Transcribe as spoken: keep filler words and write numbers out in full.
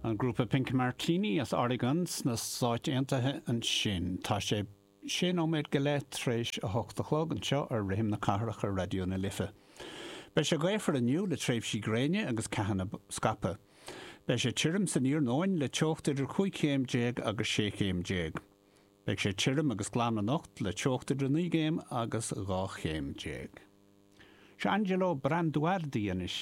An grúpa Pink Martini as Oregon sna Stáit Aontaithe ansin. Tá sé sé nóiméad go leith tar éis a hocht a chlog anseo ar Rithim na Cathrach ar Raidió na Life. Beidh sé gaofar inniu le tréimhsí gréine agus ceathanna scaipthe. Beidh sé tirim san iarnóin le teocht idir cúig chéim déag agus sé chéim déag. Beidh sé tirim agus glan anocht le teocht idir naoi gcéim agus dhá chéim déag. Seo Angelo Branduardi anois.